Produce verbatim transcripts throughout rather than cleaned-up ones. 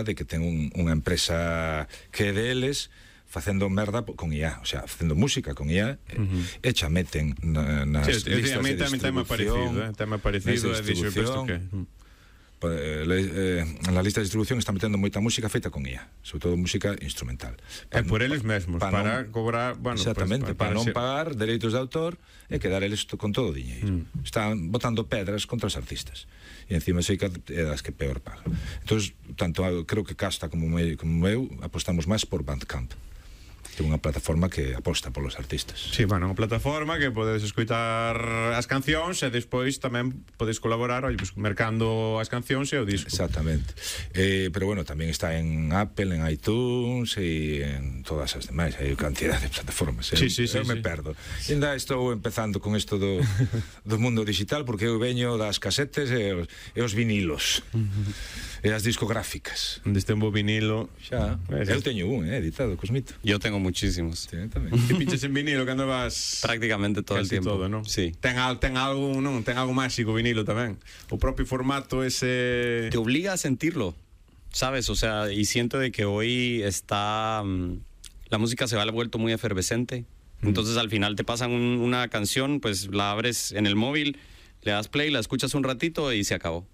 de que ten un, unha empresa que é deles facendo merda con I A, o sea, facendo música con I A, uh-huh. e xa meten na, nas sí, listas de distribución. Tema parecido, eh? tema parecido de distribución. Eh, na lista de distribución está metendo moita música feita con I A, sobre todo música instrumental. É por eles mesmos, para, para non, cobrar, bueno, exactamente, para, para, para non ser... pagar dereitos de autor e quedar eles con todo o diñeiro. Mm. Están botando pedras contra os artistas. E encima sei que é das que peor paga. Entonces, tanto creo que Casta como eu, como eu apostamos máis por Bandcamp. É unha plataforma que aposta polos artistas. Sí, bueno, unha plataforma que podedes escoitar as cancións e despois tamén podes colaborar, oi, pues, mercando as cancións e o disco. Exactamente. Eh, pero bueno, tamén está en Apple, en iTunes e en todas as demais. Hai cantidad de plataformas. Sí, sí, sí, eu me sí. perdo. E ainda estou empezando con isto do, do mundo digital, porque eu veño das casetes e os, e os vinilos. E as discográficas. Onde este un bo vinilo. Xa. Eu teño un, eh, editado, Cosmito. Yo tengo muchísimos. Sí, tamén. Te pinches en vinilo cando vas prácticamente todo el tiempo. Todo, ¿no? Sí. Ten, al, ten algo, non? Ten algo máxico vinilo tamén. O propio formato ese te obliga a sentirlo, ¿sabes? O sea, y siento de que hoy está um, la música se va vuelto muy efervescente. Mm. Entonces al final te pasan un, una canción, pues la abres en el móvil, le das play, la escuchas un ratito y se acabó.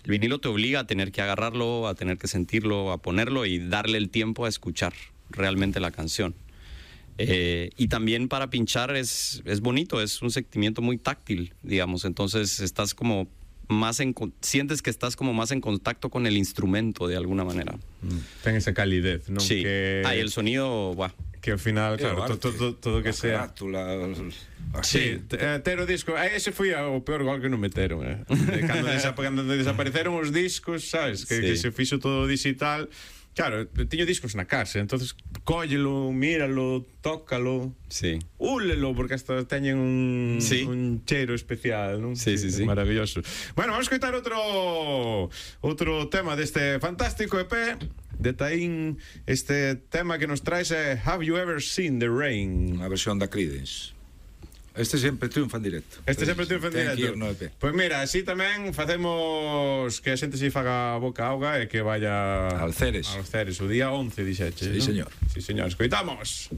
El vinilo te obliga a tener que agarrarlo, a tener que sentirlo, a ponerlo y darle el tiempo a escuchar realmente la canción. Eh, y también para pinchar es, es bonito, es un sentimiento muy táctil, digamos. Entonces estás como más en, sientes que estás como más en contacto con el instrumento de alguna manera. Mm. Ten esa calidez, ¿no? Sí. Que... Ah, y el sonido, buah. Que ao final, claro, todo, todo, todo que sea carátula, sí, eh, ter o disco, eh, ese foi o peor gol que non meteron, eh. De cando, desap cando desapareceron os discos, sabes, que, sí. que se fixo todo digital. Claro, tiño discos na casa, entonces cóllelo, míralo, tócalo, sí. úlelo, porque hasta teñen un, sí. un cheiro especial, non? Sí, sí, sí. Maravilloso. Bueno, vamos a escoitar outro outro tema deste fantástico E P de Taín. Este tema que nos traes é Have You Ever Seen the Rain? Unha versión da Creedence. Este sempre triunfa en directo. Este sempre triunfa en directo. No E P. Pois mira, así tamén facemos que a xente se faga boca auga e que vaya al Ceres. Al Ceres, o día once, dixeche. Sí, ¿no? señor. Sí, señor. Escoitamos.